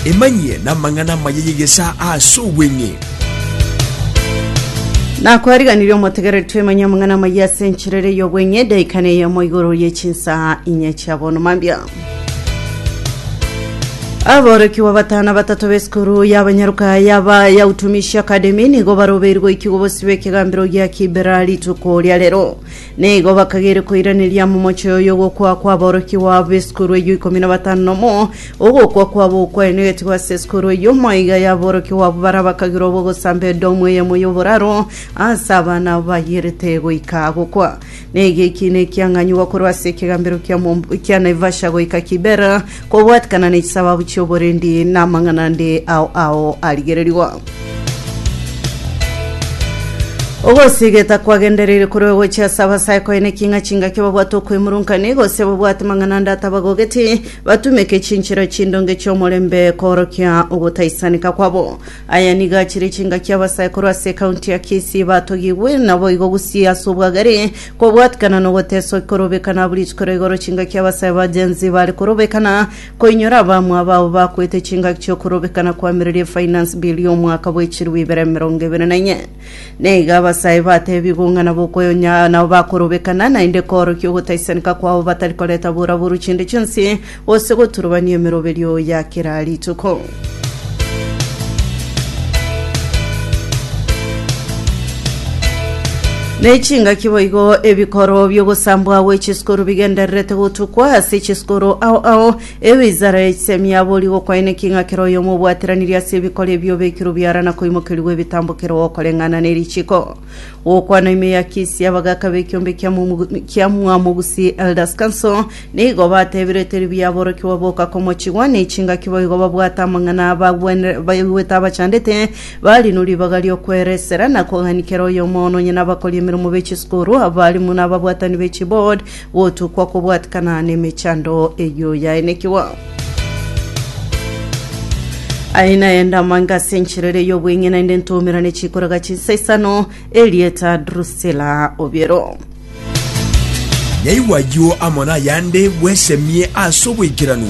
Emanyie namang'ana amaya y'egesaa ase obweng'e. Nakwariganirie omotegereri twemanye amang'ana amaya ase enchera ere y'obweng'e edaika neyemo igoro ye chinsaa inye chia bono mambia. Aborokigwa batano batato b'esukuru y'abanyaruka yaba ya Utumishi Academy nigo barobeirwe goikigwa bosio bw'ekegambero gia Kibera rituko ria rero. Nigo bakageire koiraneria momoche oyo ogokwa kw'aborokigwa b'esukuru eyio ikomi na batano nomo, ogokwa kwabo okwaenegetigwe ase esukuru eyio, maiga y'aborokigwa abwo baria bakagirwa b'ogosamba edomu eyemo y'oboraro ase abana abwo bayierete goika gokwa. Nigo ekiina ekiang'anyigwa korwa ase ekegambero kia Momb- kia Naivasha goika Kibera, kobwatikana ne chisababu chi'oborendi na amang'ana ande ao ao arigererigwa. Ogosigeta kwagendereire korwa gochia ase abasae koene ki ng'a chingaki babwate okwemurungania gose babwate mang'ana ande atabagogeti, batumeke chinchera chindonge chi'omorembe koorokia ogotaisanika kwabo. Aya nigo achire chingaki abasae korwa ase ekaunti ya Kisii batogigwe naboigo Gusii ase obwagare kobwatikana nogoteswa korobekana abwo rituko ria igoro chingaki abasae ba Gen Z bare korobekana Koinyora abamwabo abwo bakwete chingaki chi'okorobekana kwamireria efinance bill y'omwaka bwe chilifu ibere 24. Nigo abasae batebigwe ng'a nabo okoyonya nabo bakorobekana naende koorokia ogotaisanika kwabo batari koreta boraburu chinde chionsi gose goturubania emeroberio ya kera rituko. Ne chingaki boigo ebikoro bi'ogosambwa gwe chisukuru bigendererete gotukwa ase chisukuru ao ao. Ewizara ya chisemi yabori gokwaeneki ng'a kera oyomo obwateranirie ase ebikoro ebio obekirwe biara na koimokerigwa ebitambokero gokoreng'ana ne richiko. Gokwana ime ya Kisii abagaka b'ekiombe kia Momu- kia Mwamogusi Elders Council nigo batebire teri buya aborokigwa boka komochigwa ne chingaki boigo babwate amang'ana abagwenere baigwete abachandete Barino ribaga ri'okweresera na kogania kera oyomo nonya nabakori emeremo be chisukuru, abalimu na ababwatani be chiboard, gotukwa kobwatikana nemechando eyio yaenekigwa. Aye naende amange ase enchera ere y'obweng'e naende ntoumerane chikoraga chinsa isano, erieta Drusilla Obiero. Nyaigwa ayio amo nayande bwesemie ase oboikeranu.